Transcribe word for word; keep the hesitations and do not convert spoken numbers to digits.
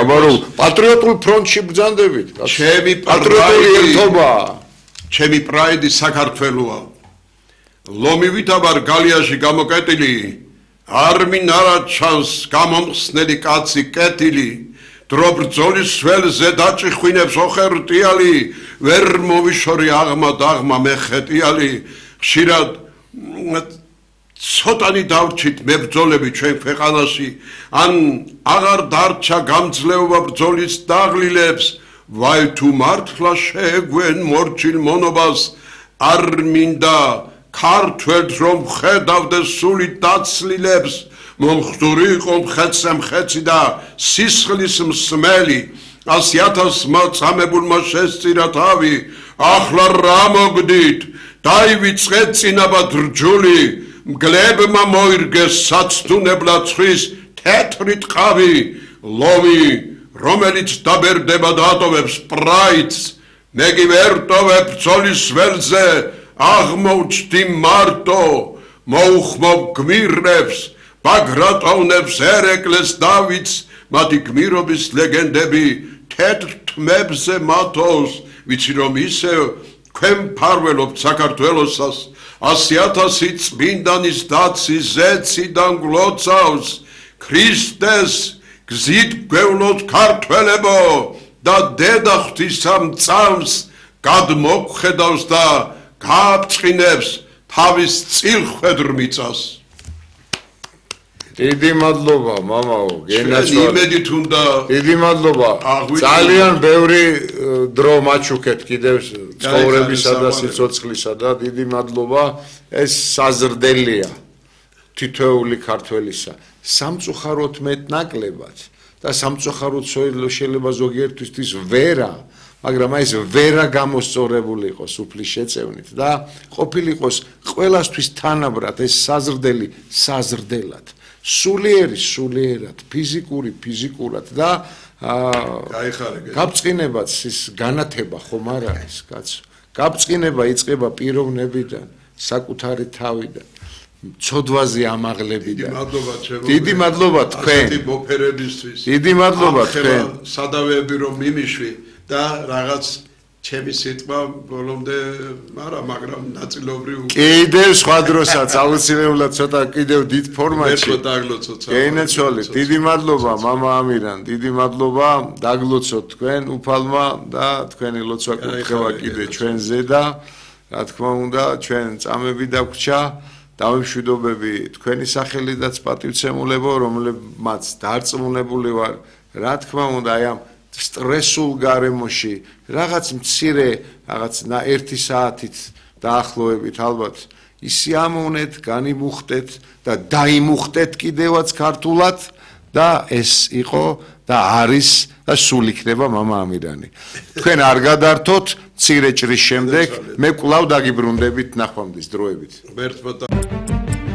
საბარო პატრიოტულ ფრონტში ბრძანდებით. ჩემი პატრიოტული ერთობა. ჩემი პრაიდი საქართველოა. ლომივით აბარ გალიაში გამოკეტილი არ მინარა ჩანს გამომხსნელი კაცი კეთილი დრო ბრძოლის ველზე დაჭიხვინებს ოხერტიალი ვერ მოვიშორი აღმა დაღმა მეხეტიალი ხშირად ცოტანი დავრჩით მებრძოლები ჩვენ ქვეყანაში ან აღარ დარჩა გამძლეობა ბრძოლის დაღლილებს ვაი თუ მართლა შეეგვენ მორჩილ მონობას არ მინდა ქართველს რომ ხედავდეს სული დაცლილებს მომხდური იყო მხეცე მხეცი და სისხლის მსმელი ასი ათასმა წამებულმა შესწირა თავი ახლა რა მოგდით დაივიწყეთ წინაბად რჯული მგლებმა მოირგეს საცდუნებლად ცხვის თეთრი ტყავი ლომი რომელიც დაბერდება და ატოვებს პრაიდს მე კი ვერ ტოვებ ბრძოლის ველზე აღმოჩნდი მარტო მოუხმობ გმირებს ბაგრატონებს ერეკლეს დავითს მათი გმირობის ლეგენდები თეთრ თმებზე მათოს ვიცი რომ ისევ ქვემ ფარველობთ საქართველოსას ასი ათასი წმინდანის დაცი ზეციდან გლოცავს ქრისტეს გზით გვევლოთ ქართველებო და დედა ღვთისამ წამს გადმოგხედავს და გააბწყინებს თავის წილხვედრ მიწას დიდი მადლობა მამაო გენაცვალე იმედით უნდა დიდი მადლობა ძალიან ბევრი დრო მაჩუქეთ კიდევ ცხოვრებისა და სიცოცხლისა და დიდი მადლობა ეს საზრდელია თითოეული ქართველისა სამწუხაროდ მეტნაკლებად და სამწუხაროდ შეიძლება ზოგიერთისთვის ვერა მაგრამ ეს ვერა გამოსწორებული იყოს უფლის შეწევნით და ყოფილიყოს ყველასთვის თანაბრად ეს საზრდელი საზრდელად სულიერი სულიერად ფიზიკური ფიზიკურად და გაბწყინებაც ის განათება ხომ არ არის კაცო გაბწყინება იწყება პიროვნებიდან საკუთარი თავიდან ცოდვაზე ამაღლებიდან დიდი მადლობა თქვენ დიდი მადლობა თქვენ სადავეები რომ მიმიშვი და რაღაც ჩემი სიტყვა ბოლომდე არა მაგრამ ნაწილობრივ კიდევ სხვა დროსაც აუცილებლად ცოტა კიდევ დიდ ფორმატში გენაცვალე დიდი მადლობა მამა ამირან დიდი მადლობა დაგლოცოთ თქვენ უფალმა და თქვენი ლოცვა კურთხევა კიდე ჩვენზე და რა თქმა უნდა ჩვენ წამები დაგვრჩა დავიმშვიდობები თქვენი სახელიდაც პატივცემულებო რომლებმაც დარწმუნებული ვარ რა თქმა უნდა აი ამ სტრესულ გარემოში რაღაც მცირე რაღაც ერთი საათით დაახლოებით ალბათ ისიამოვნეთ, განიმუხტეთ და დაიმუხტეთ კიდევაც ქართულად და ეს იყო და არის და სულ იქნება მამა ამირანი. თქვენ არ გადართოთ მცირე ჭრის შემდეგ მე კვლავ დაგიბრუნდებით ნახვამდის დროებით.